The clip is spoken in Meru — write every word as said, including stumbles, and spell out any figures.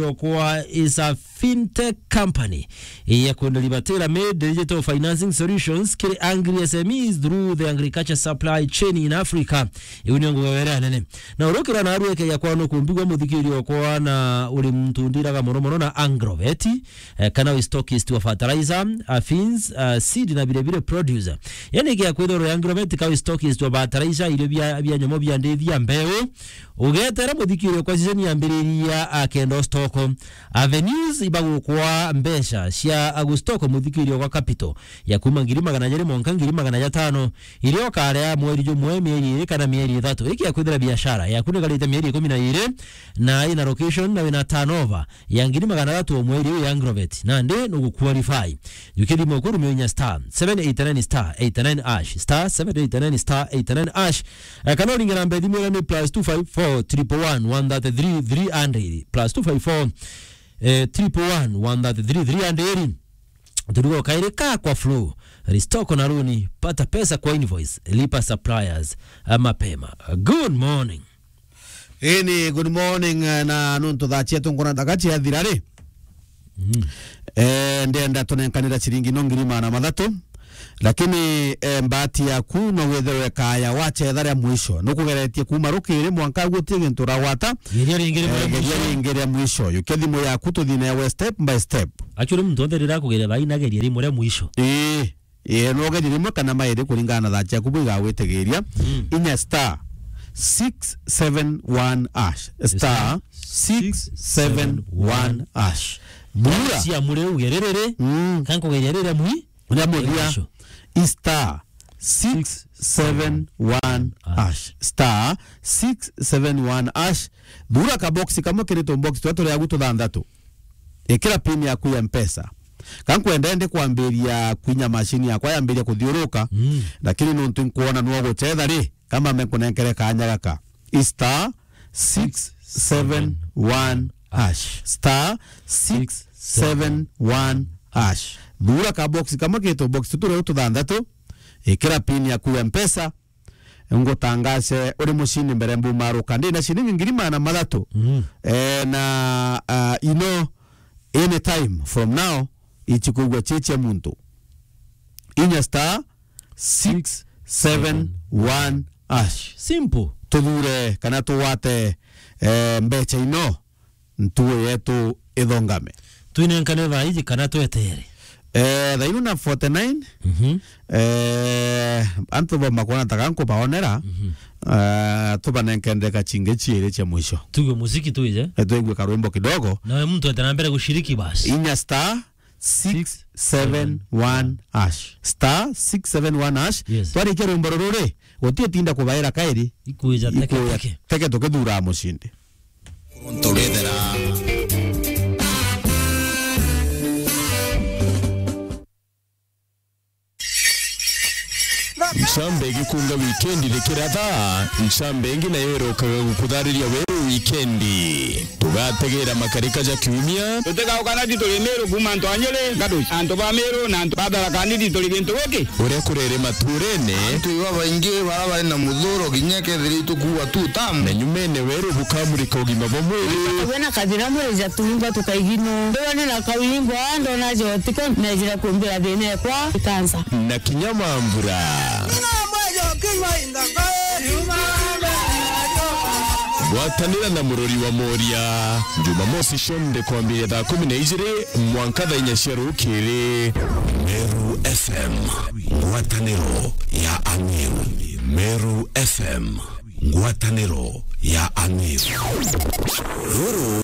Yokwa is a fintech company ya kwenderia tailor-made digital financing solutions kiri angry S M Es through the agriculture supply chain in Africa. Iu nio ngugi iria nene. Na urukira na arueke ya kwano kumbigwa muthikiri okwa na uri muntu ndiraga mono mono na Agrovet, eh, kana wi stockist wa fertilizer, a feeds, a seed na bire bire producer. Yani kia kwithirwa Agrovet ka wi stockist wa fertilizer, irio bia, bia nyomo bia ndithi ya mbeu, ugetera muthikiri okwa season yambiriria akenda stock. Avenues ibagukwa mbeca cia agustoko muthikiri okwa capital ya kuma ngiri magana jeri mwanka ngiri magana jatano, iria ukarea mweri jumwe, mieri iri kana mieri ithatu. Iki ya kwithira biashara yaku nigarite mieri ikumi na iri na ina location na wina turnover ya ngiri magana athatu o mweri uyu ya Agrovet, nandi nugu qualify. Jukia thimu kurumia inya star seven eight nine star eight nine hash, star seven eight nine star eight nine hash. Eh, kana uringe namba ya thimu iria ni plus two five four triple one one thirty three three hundred, plus two five four, eh, triple one one thirty three three hundred. Turugo kairi ka kwa flow, restoko na runi, pata pesa kwa invoice, lipa suppliers, eh, mapema. Good morning. Ini good morning, eh, na nuntu thaa cietu nkona ndaka ciathira ri. Mm. Eh, ndenda tunenkanira ciringi no ngiri magana mathatu. Lakini, eh, mbati yaku no withirwe kaya wacetha ria mwisho. Nukugeretie kuma rukiri mwanka guti gintu uragwata. Geria ringi ria, eh, geria mwisho. Ringi ria mwisho. Yukia thimu yaku tuthii nawe step by step. Actually, muntu onthe riria akugeria thaa ina geria rimwe ria mwisho. Ii. Ii, no geria rimwe kana mairi kuringana na thaa ciaku bwigagwitigiria. Mm. Inya star six seven one hash. Star six seven one hash. Thura. Cia muri ugeria riri. Mm. Kankugeria riri mwi. Uria muthia. Mwisho. I star six seven one hash. Star six seven one hash. Thura ka box kamwe kiri tu box twa turi agu tuthanthatu. Ikira pin yaku ya Mpesa. Ka nkwenda ndi kwambiria kwinya machine yakwa yambiria kuthiuruka, mm, lakini nuntu nkuona nwo gucetha ri, kama me nkunenkere kanya gaka. I star six seven one hash. Star six seven one hash. Thura ka box kamwe kitu box tutu riu tuthanthatu. Ikira pin yaku ya Mpesa. Ngutangace uri mucini mbere mbumaruka. Ndi na ciringi ngiri magana mathatu. Mm. Eh, na, ah, you know, anytime from now, ichikugwa chichia muntu. Inya star six seven one hash. Simple. Tuthure kana tuwate, eh, mbecha ino ntuo yetu ithongame. Twinenkane thaa iji kana twetere? Eh, thaa ino na forty-nine. Mhm. Eh, antu boma kuona ta ganku baonera. Mhm. Eh, tubanenkende kachingi chiiri cia mwisho. Tuigue muziki tuije. Eh, tuigue karwimbo kidogo. Nawe muntu ete na mbere gushiriki basi. Inya star six seven one hash. Star six seven one hash. Yes. Twarikia rwimbo ruru ri, guti utinda kubaira kairi. Ikuija teke teke. Teke tukithura mucindi. Nturithira. Ncambe igikunga wikendi rikiratha, ncambe ingi nayo irokaga gukuthariria weru wikendi. Tugategera makarika ja kiumia. Tutigauka na tituri Miru kuuma antu a Nyeri, Gaduci, antu ba Miru na antu ba Tharaka Nithi turi gintu giki. Uria kurere maturene. Antu iba baingi bara bari na muthuro kinya kethira itukuua tu tamu. Na nyumene weru bukamurika ugima bwa mwiri. Wena kathira mwiri ja tuimba tukaigino. Ndiwone na kauimbo, ndona jotiko, nejira kumbira thina ekwa ikansa. Na kinya mambura. Ngwatanira na murori wa Moria. Jumamosi cionthe kwambiria thaa kumi na ijiri mwanka thaa inya cia rukiri. Meru F M, ngwataniro ya Amiru. Meru F M, ngwataniro ya Amiru. Ruru